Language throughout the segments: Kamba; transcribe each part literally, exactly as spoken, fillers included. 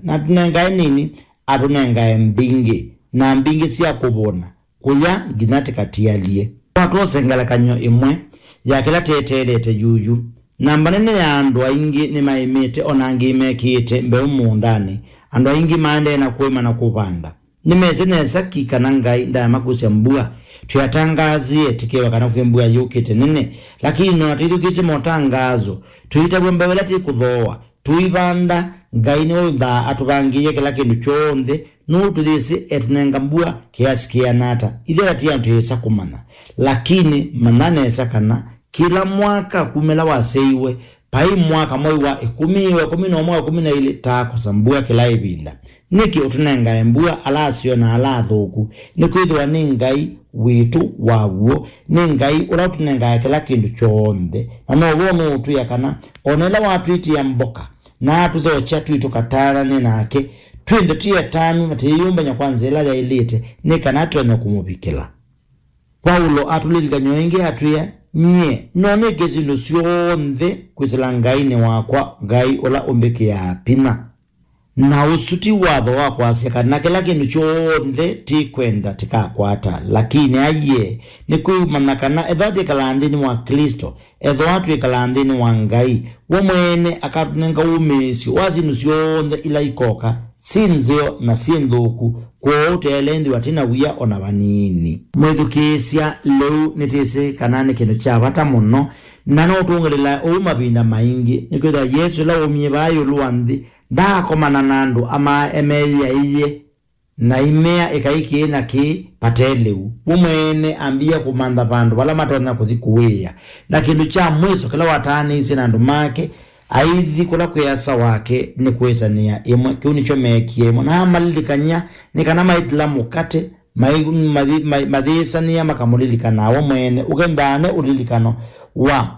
na atũnengae nini, atũnengae mbingĩ, na mbingĩ sya kũvũna, kũya nginya tĩkatialye. Twatwose ngelekany'o ĩmwe ya kĩla tĩeteelete yuyu. Namba nene ya andũ aingĩ nĩmaĩmĩte, o na angĩ mekĩĩte mbeũ mũũndanĩ. Andũ aingĩ maendee na kũĩma na kũvanda. Nĩmesĩ nesa ki kana Ngai ndaamakusya mbua. Twĩatangaasie tĩkĩwa kana kwĩ mbua yũkĩte nene, lakini no na twĩthukĩĩsye matangazo, tũitavw'a mbeũ ĩla tĩkũthooa, tũivanda. Ngai nĩwĩthaa atũvangĩĩe kĩla kĩndũ kyonthe, nũndũ tũyĩsĩ etũnenga mbua kĩasi kĩana ata. Ithyĩ ata ti andũ twĩsa kũmanya, lakini manya nesa kana kĩla mwaka kumĩla wasyaiwe, vai mwaka mwei wa ĩkũmi, wa ĩkũmi na ũmwe, wa ĩkũmi na ilĩ, taakosa mbua kĩla ĩvinda. Nĩkĩ ũtũnengae mbua ala aseo na ala athũku? Nĩkwĩthĩwa nĩ Ngai witũ wa w'o, nĩ Ngai ũla ũtũnengae kĩla kĩndũ kyonthe, na now'o nũũtwĩa kana o na ĩla watwĩtĩa mboka, na atũthokya twĩ tũkatanane nake, twĩ nthĩ twĩ atanu na tũyĩyũmbany'a kwa nzĩa ĩla yaĩlĩte, nĩ kana tũtonya kũmũvikĩla. Vaulo atũlilikany'a ĩngĩ atwĩa, nyie no nĩke syĩndũ syonthe kwĩsĩla Ngainĩ wakwa, Ngai ũla ũmbĩkĩaa vinya. Na ũsu ti watho wa kwasya kana kĩla kĩndũ kyonthe tĩkwenda tĩkakwata, lakini aiee, nĩkwĩumanya kana ethĩwa twĩkalaa nthĩnĩ wa Klĩsto, ethĩwa twĩkalaa nthĩnĩ wa Ngai, we mwene akatũnenga wũmĩĩsyo wa syĩndũ syonthe ila ikoka, syĩ nzeo na syĩ nthũku, kwoou tũyaĩle ĩthĩwa twĩ na wia o na vanini. Mwĩthukĩĩsya, lĩu nĩtwĩsĩ kana nĩ kĩndũ kya vata mũno, na no tũngĩlĩla ũu mavinda maingĩ, nĩkwĩthĩwa Yesũ ĩla waumie vaa ĩũlũ wa nthĩ, ndaakomana na andũ amaa emeĩaĩie na imea ĩkai kĩĩ na kĩĩ vate lĩu. We mwene ambie kũmantha vandũ vala matonya kũthi kũĩĩa. Na kĩndũ kya mwĩso kĩla wataanĩisye na andũ make, aithi kũla kwĩ Asa wake nĩ kwĩsanĩa ĩmwe. Kĩu nĩkyo meekie ĩmwe. Na amalilikany'a nĩ kana maitila mũkate, mai-, mathi-, mai-, mathĩĩsanĩa makamũlilikana we mwene. Ũkethane ũlilikano wa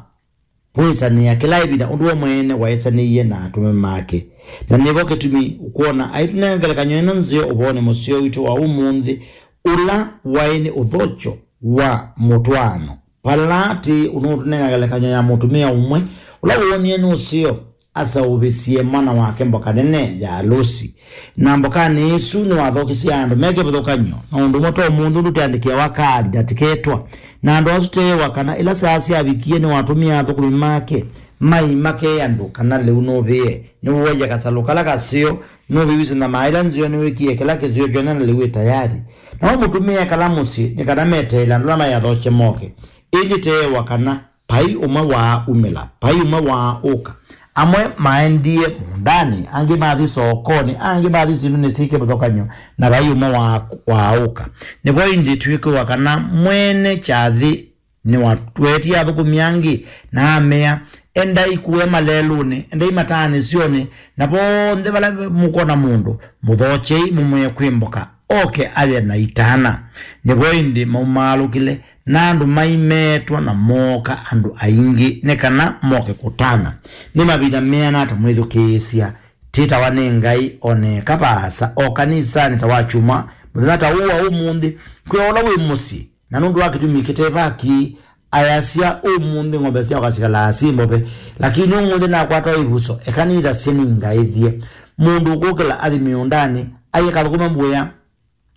kwĩsanĩa kĩla ĩvinda ũndũ we mwene waĩsanĩie na atũme make. Na nĩvo kĩtumi ũkwona aitũnenga ngelekany'o ĩno nzeo ũvoonĩ mũseo witũ wa ũmũnthĩ, ũla waĩ nĩ ũthokyo wa mũtwaano. Vala atĩ ũnũũtũnenga ngelekany'o ya mũtumĩa ũmwe ũla woonie nĩ ũseo aseũvĩsye mwana wake mboka nene ya alũsi. Na mbokanĩ ĩsu nĩwathokisye andũ me kĩvathũkany'o, na ũndũ ũmwe ta ũmũnthĩ ũndũ tũyandĩkĩawa kaadi na tĩketwa. Na andũ asu teewa kana ĩla saa syavikie nĩwatũmie athũkũmi make mai makee andũ kana lĩu nũvĩe, nĩwooie kasalũ kala kaseo, nũvĩw'ĩsye na maa ĩla nzeo, nĩwĩkie kĩla kĩseo kyonthe na lĩu ĩ tayari. Namo mũtumĩa ekala mũsyĩ nĩ kana meteele andũ ala maiathokye moke. Ĩndĩ teewa kana vai ũmwe waaumĩla, vai ũmwe waaũka. Amwe maendie mũũndanĩ, angĩ mathi sokonĩ, angĩ mathi syĩndũnĩ syĩ kĩvathũkany'o, na vai ũmwe wa-, waaũka. Nĩvo ĩndĩ twĩkwĩwa kana mwene kyathĩ nĩwatwetie athũkũmi angĩ, na amea, endai kũe malelũnĩ, endai mataanĩsyonĩ, na vonthe vala mũkwona mũndũ, mũthokyei, mũmwĩe kwĩ mboka, oke aye na itana. Nĩvo ĩndĩ maumaalũkĩle, na andũ maimeetwa na mooka andũ aingĩ nĩ kana moke kũtana. Nĩ mavinda meana ata mwĩthukĩĩsya? Twĩtawa nĩ Ngai o na eka vaasa o kanisanĩ ta wa kyumwa mũthenya ta ũũ wa ũmũnthĩ, kwĩ o ũla wĩ mũsyĩ, na nũndũ wa kĩtumi kĩte vaki, ayasya ũmũnthĩ ng'ombe syakwa sikalaa syĩ mbove, lakini ũmũnthĩ nakwata ĩvuso, eka nĩthasye nĩngaĩthye. Mũndũ ũkũkĩla athi mĩũndanĩ, aye kathũkũme mbũya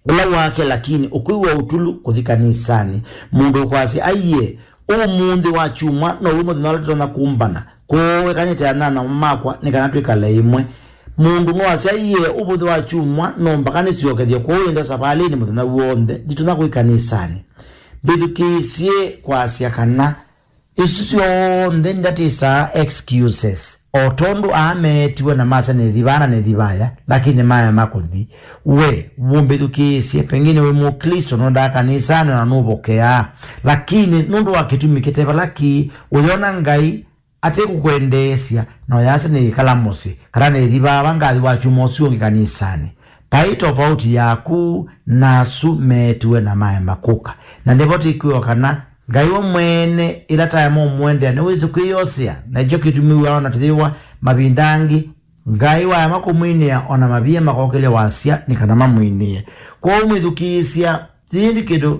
ũla wake, lakini ũkwĩw'a ũtulu kũthi kanisanĩ. Mũndũ ũkwasya, aiee, ũmũnthĩ wa kyumwa now'o mũthenya ũla tũtonya kũmbana, kwoou eka nĩte anyanya makwa nĩ kana twĩkale ĩmwe. Mũndũ no asya, aiee, ũmũnthĩ wa kyumwa no mbaka nĩsyokethye, kwoou ĩndĩ savalĩnĩ mũthenya w'onthe nditonya kũthi kanisanĩ. Mbĩthukĩĩsye kwasya kana isu syonthe ndatĩsaa excuses, o tondũ aa meetiwe na masya nĩthi vaa na nĩthi vaya, lakini maema kũthi. We, wũmbĩthukĩĩsye, pengine wĩ Mũklĩsto, nũndaa kanisanĩ na nũvokeaa, lakini nũndũ wa kĩtumi kĩte vala kĩĩ, ũyona Ngai atĩ kũkwendeesya, na ũyasya nĩĩkala mũsyĩ, kana nĩthi vaa va ngathi wa kyumwa ũsu ũngĩ kanisanĩ. Vai tofauti yaku na asu meetiwe na maema kũka. Na nĩvo tĩkwĩwa kana Ngai we mwene, ĩla taema ũmwendea, nĩwĩsĩ kwĩyosea, na nĩkyo kĩtumi wĩona tũyĩwa mavinda angĩ Ngai waema kũmwinĩa, o na mavia makokĩlya wasya nĩ kana mamwinĩe. Kwoou mwĩthukĩĩsya, yĩndĩ kĩndũ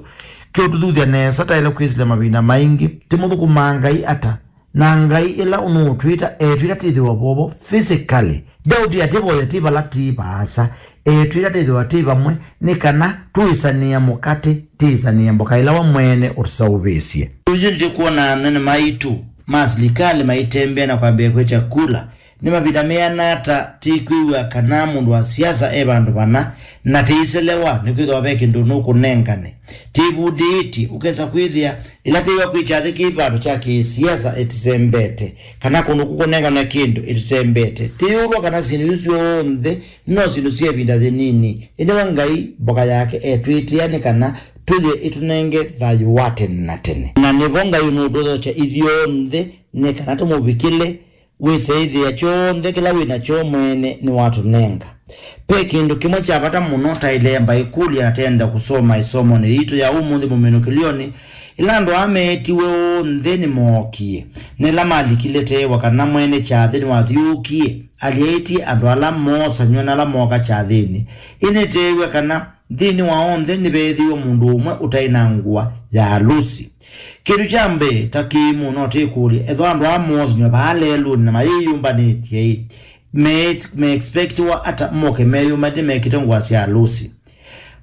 kĩũtũthuthya nesa taĩle kwĩsĩla mavinda maingĩ, tĩmũthũkũmaa Ngai ata? Na Ngai ĩla ũnũũtwĩta, etwĩta tĩthĩwa vovo physically, Daudi atĩvoya ti vala ti vaasa, etwĩta twĩthĩwa twĩ vamwe, nĩ kana tũĩsanĩa mũkate, tĩĩsanĩe mboka ĩla we mwene ũtũseũvĩsye. Ũyu nĩkwona anene maitũ ma silikalĩ maitembea na kwambĩĩa kwĩtya kula. Nĩ mavinda meana ata tĩkwĩw'a kana mũndũ wa siasa e vandũ vana, na tĩiselewa nĩkwĩthĩwa ve kĩndũ nũkũnengane? Tĩvundĩĩtye ũkesa kwĩthĩa ĩla tĩwa kwĩ kyathĩ kĩ vandũ kya kĩsiasa ĩtĩsembete, kana kũndũ kũkũnengane kĩndũ ĩtĩsembete. Tĩyũlwa kana syĩndũ isu syonthe no syĩndũ sya ĩvinda yĩnini, ĩndĩ we Ngai mboka yake etwĩtĩa nĩ kana tũye ĩtũnenge thayũ wa tene na tene. Na nĩvo Ngai ũnũtũthokya ithyonthe nĩ kana tũmũvikĩle. Wĩseĩthĩa kyonthe kĩla wĩ nakyo mwene nĩwatũnenga. Ve kĩndũ kĩmwe kya vata mũno taĩle mbaĩkũlya na tenda kũsoma ĩsomonĩ yitũ ya ũmũnthĩ mũminũkĩlyonĩ, ĩla andũ aa meetiwe onthe nĩmookie, na ĩla malikile tewa kana mwene kyathĩ nĩwathyũũkie, alyaĩtye andũ ala moosanw'a na ala mooka kyathĩnĩ. Ĩndĩ nĩteew'a kana nthĩnĩ wa onthe nĩveethĩiwe mũndũ ũmwe ũtaĩ na ngũa ya alusi. Kĩndũ kya mbee, ta kĩimũ, no tĩkũlye, ethĩwa andũ aa moosanw'a vaa lelũnĩ na mayĩyũmbanĩtye-ĩ, me, me expectiwa ata moke meyũmbanĩtye mekĩte ngũa sya alusi?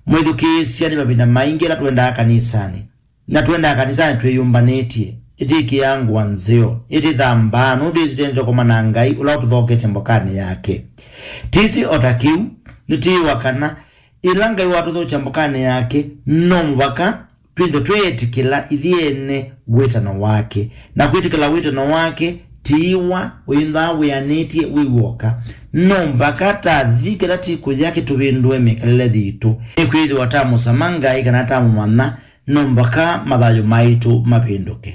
Mwĩthukĩĩsya, nĩ mavinda maingĩ ĩla tũendaa kanisanĩ, na tũendaa kanisanĩ twĩyũmbanĩtye, ĩtĩkĩaa ngũa nzeo, ĩtĩthambaa, nũndũ ĩsĩ tũendete kũmana na Ngai ũla ũtũthoketye mbokanĩ yake. Tĩsĩ o ta kĩu, nĩtwĩĩwa kana ĩla Ngai watũthokya mbokanĩ yake, no mũvaka twĩthwe tweetĩkĩla ithyĩ ene wĩtano wake. Na kwĩtĩkĩla wĩtano wake, tiiwa ũyĩnthaa wĩanĩtye wĩ w'oka. No mbaka tathi kĩla tikũya kĩtũvĩndũe mĩkalĩle yitũ. Nĩkwĩthĩwa tamũsama Ngai kana tamũmanya, no mbaka mathayũ maitũ mavĩndũke.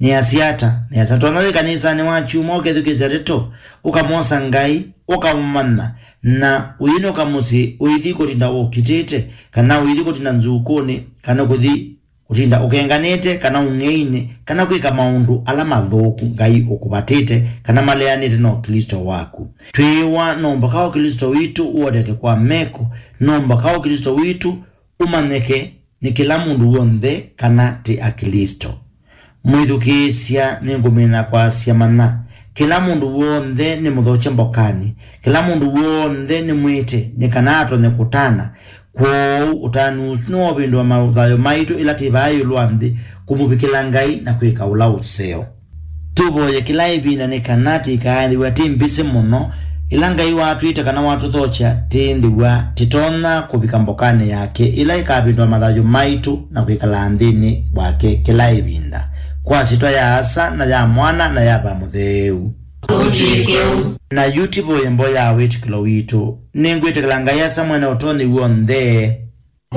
Nĩasya ata? Nĩasya, tonya wĩ kanisanĩ wa kyumwa ũkethukĩĩsya ndeto, ũkamwosa Ngai, ũkamũmanya, na ũyĩnũka mũsyĩ ũithi kũtinda ũkitĩte, kana ũithi kũtinda nzukũnĩ, kana kũthi kũtinda ũkenganĩte, kana ũng'einĩ, kana kwĩka maũndũ ala mathũku Ngai ũkũvatĩte, kana maleanĩte na Ũklĩsto waku. Twĩĩwa no mbaka Ũklĩsto witũ ũoneke kwa meko, no mbaka Ũklĩsto witũ ũmanyĩke nĩ kĩla mũndũ w'onthe kana tĩ Aklĩsto. Mwĩthukĩĩsya, nĩngũmina kwasya, manya, kĩla mũndũ w'onthe nĩ mũthokye mbokanĩ, kĩla mũndũ w'onthe nĩ mwĩte, nĩ kana atonye kũtana. Kwoou ũtanu ũsu nĩwovĩndũa mathayũ maitũ ĩla twĩ vaa ĩũlũ wa nthĩ, kũmũvikĩla Ngai na kwĩka ũla ũseo. Tũvoye kĩla ĩvinda nĩ kana tĩkaaĩthĩw'a twĩ mbĩsĩ mũno. Ĩla Ngai watwĩte kana watũthokya, twĩthĩwa tũtonya kũvika mbokanĩ yake ĩla ĩkavĩndũa mathayũ maitũ na kwĩkala nthĩnĩ wake kĩla ĩvinda. Kwa syĩtwa ya Asa, na ya Mwana, na ya Vaa Mũtheu. Ũtw'ĩke ũu. Na yu tũvoye mboya ya wĩtĩkĩlo witũ. Nĩngwĩtĩkĩla Ngai Asa Mwene Ũtonyi W'onthe,